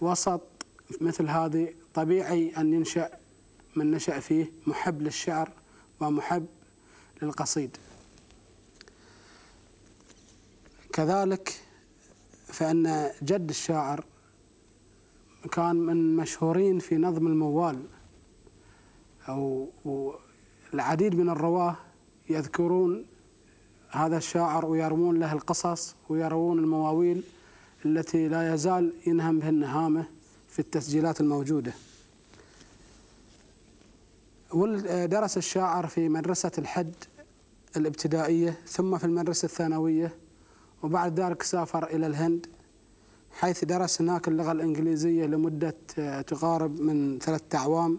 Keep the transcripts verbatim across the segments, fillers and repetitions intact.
وسط مثل هذه طبيعي أن ينشأ من نشأ فيه محب للشعر ومحب للقصيد. كذلك فإن جد الشاعر كان من مشهورين في نظم الموال، أو العديد من الرواه يذكرون هذا الشاعر ويروون له القصص ويروون المواويل التي لا يزال ينهم بها النهامة في التسجيلات الموجودة. ودرس الشاعر في مدرسة الحد الابتدائية ثم في المدرسة الثانوية، وبعد ذلك سافر إلى الهند حيث درس هناك اللغة الإنجليزية لمدة تقارب من ثلاثة أعوام،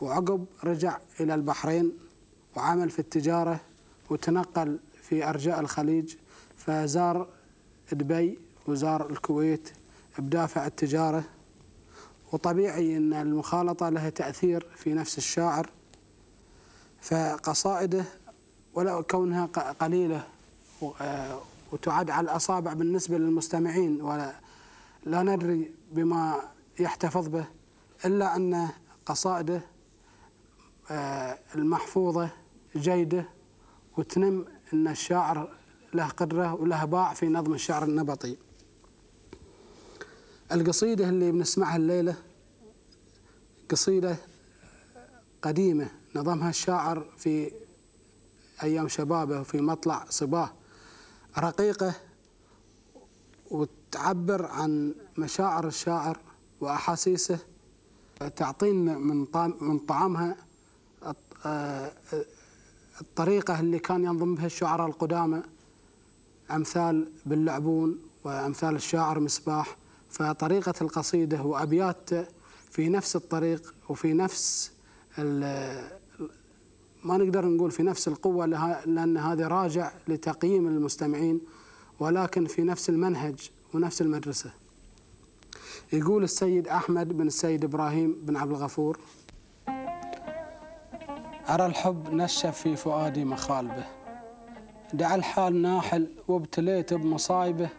وعقب رجع إلى البحرين وعمل في التجارة وتنقل في أرجاء الخليج، فزار دبي وزار الكويت بدافع التجارة. وطبيعي أن المخالطة لها تأثير في نفس الشاعر، فقصائده ولو كونها قليلة وتعد على الأصابع بالنسبة للمستمعين ولا لا ندري بما يحتفظ به، إلا أن قصائده المحفوظة جيدة وتنم أن الشاعر له قدرة وله باع في نظم الشعر النبطي. القصيدة اللي بنسمعها الليلة قصيدة قديمة نظمها الشاعر في أيام شبابه وفي مطلع صباه، رقيقة وتعبر عن مشاعر الشاعر وأحاسيسه، تعطينا من من طعامها الطريقة اللي كان ينظم بها الشعراء القدامى أمثال باللعبون وأمثال الشاعر مصباح. فطريقة القصيدة وأبيات في نفس الطريق وفي نفس ما نقدر نقول في نفس القوة لأن هذا راجع لتقييم المستمعين، ولكن في نفس المنهج ونفس المدرسة. يقول السيد أحمد بن السيد إبراهيم بن عبد الغفور: أرى الحب نشف في فؤادي مخالبه، دع الحال ناحل وابتليت بمصايبه،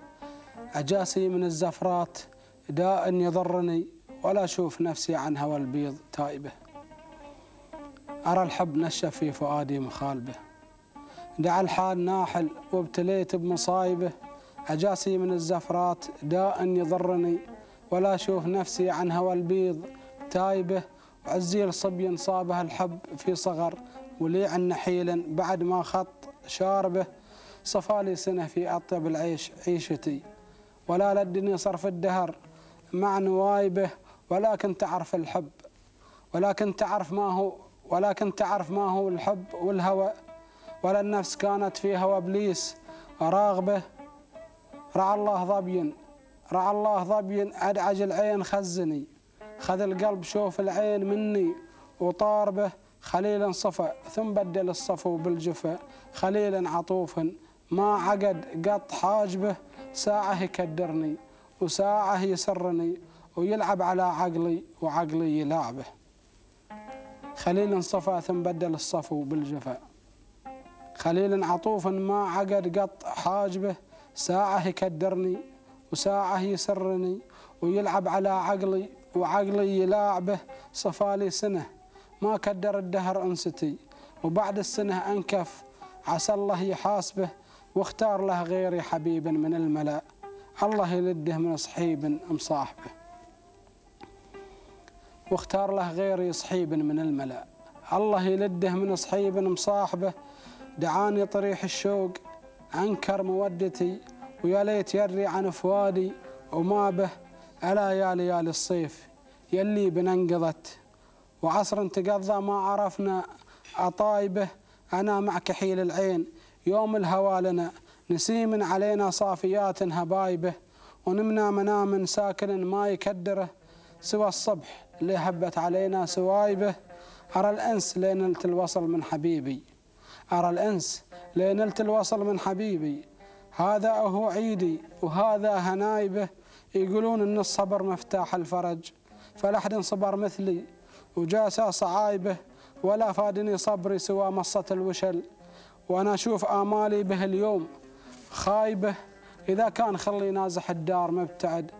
أجاسي من الزفرات داء يضرني ولا أشوف نفسي عن هوى البيض تائبه. أرى الحب نشف في فؤادي مخالبه، دع الحال ناحل وابتليت بمصايبه، أجاسي من الزفرات داء يضرني ولا أشوف نفسي عن هوى البيض تايبه. وعزيل صبي صابها الحب في صغر، وليع نحيلا بعد ما خط شاربه، صفالي سنة في أطيب العيش عيشتي، ولا لدني صرف الدهر مع نوايبه. ولكن تعرف الحب ولكن تعرف ما هو ولكن تعرف ما هو الحب والهوى، ولا النفس كانت في هوى إبليس راغبه. رعى الله ظبي رعى الله ظبي أدعج العين خزني، خذ القلب شوف العين مني وطاربه. خليلا صفى ثم بدل الصفو بالجفا، خليلا عطوف ما عقد قط حاجبه، ساعة يكدرني وساعة يسرني ويلعب على عقلي وعقلي يلعبه. خليلا صفى ثم بدل الصفو بالجفا، خليلا عطوف ما عقد قط حاجبه، ساعة يكدرني وساعة يسرني ويلعب على عقلي وعقلي يلاعبه. صفالي سنة ما كدر الدهر أنستي، وبعد السنة أنكف عسى الله يحاسبه، واختار له غيري حبيبا من الملا، الله يلده من صحيب مصاحبه. واختار له غيري صحيب من الملا، الله يلده من صحيب مصاحبه. دعاني طريح الشوق أنكر مودتي، ويا ليت يري عن فؤادي وما به. ألا يا ليالي الصيف يلي بننقضت، وعصر تقضى ما عرفنا أطايبه. أنا مع كحيل العين يوم الهوى لنا، نسيم علينا صافيات هبايبه، ونمنا منام ساكن ما يكدره، سوى الصبح اللي هبت علينا سوايبه. أرى الأنس لينلت الوصل من حبيبي، أرى الأنس لينلت الوصل من حبيبي، هذا هو عيدي وهذا هنايبه. يقولون إن الصبر مفتاح الفرج، فلحد صبر مثلي وجاسى صعايبه، ولا فادني صبري سوى مصة الوشل، وأنا أشوف آمالي به اليوم خايبه. إذا كان خلي نازح الدار مبتعد،